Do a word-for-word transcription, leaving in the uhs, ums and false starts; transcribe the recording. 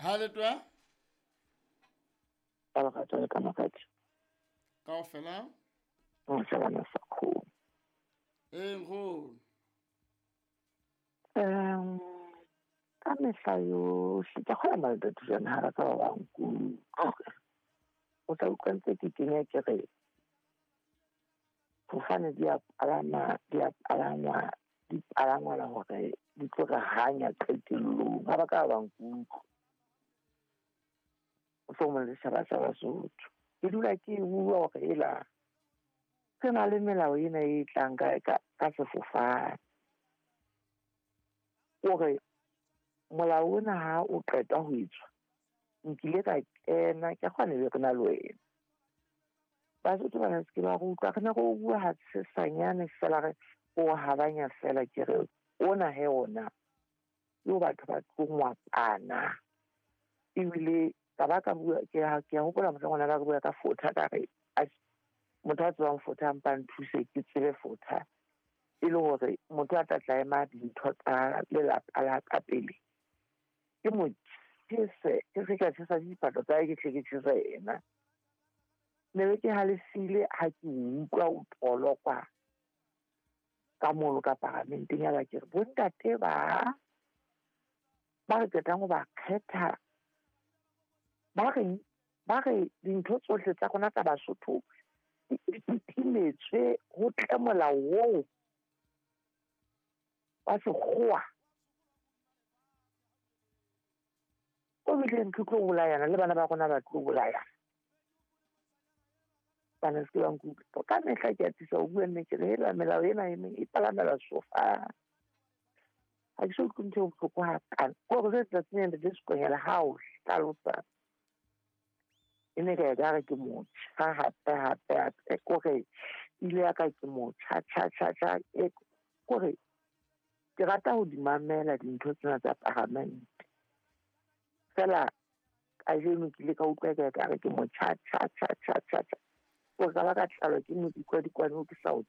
Ha le twa? Ka lerato le ka makgetho. Kaofela? O shebana sa kgomo. Ee, nkgono. Um, ka mehla yohle ke kgona malata thusana ha ba ka ba ba nkutlwa. O tla utlwa ntse ke kenya ke re fofane di a palama, di a palangwa, di palangwela hore di tlo re hanya qetellong. Ha ba ka ba nkutlwa. Mohlomong le setjhaba sa Basotho. Ke dula ke bua hore ela re na le melao ena e tlang ka, ka, ka sefofane. Hore molao ona ha o qeta ho etswa, nkile ka kena, ke kgona be re na le wena. Basotho bana se ke ba re utlwa, re ne re o bua ha sesanyane fela re o habanya fela ke re ona he ona yo batho ba tlo ngwapana. Ebile ka ba ka bua, ke a, ke a hopola mohlang ona ba re bua ka fotha, ka re, atjhe, motho a tsebang fotha a mpa nthuse ke tsebe fotha. E le hore motho a tla tla ema dintho tsa lelapa la ka pele. Ke mo tjhese, ke se ka tjhesa diphahlo tsa hae, ke hle ke tjhese yena. Ne be ke halefile ha ke utlwa o tolokwa ka mono ka paramenteng ya ba ke re, bontate ba, ba re qetang ho ba kgetha, ba re, ba re dintho tsohle tsa rona tsa Basotho di timetswe ho tle molao oo wa sekgowa. O bileng ke tlo bolayana le bana ba rona ba tlo bolayana. Bana se ke ba nkutlwa. Ka mehla ke atisa ho bua nnete, ke re hela melao ena e meng e palamela sofa. Ha ke so utlwe ntho e bohloko hakana. Ke hore jwale tsatsing lena le Sekonyela ha o hlalosa, e ne ka ekare ke motjha hape, hape, hape. Ke hore ile ya ka ke motjha, tjha, tjha, tjha. E, ke hore ke rata ho di mamela dintho tsena tsa paramente. Feela kajeno ke ile ka utlwa ka ekare ke motjha, tjha, tjha, tjha, tjha, tjha. Ke hore ka ba ka tlalwa ke modikwadikwane oo ke sa o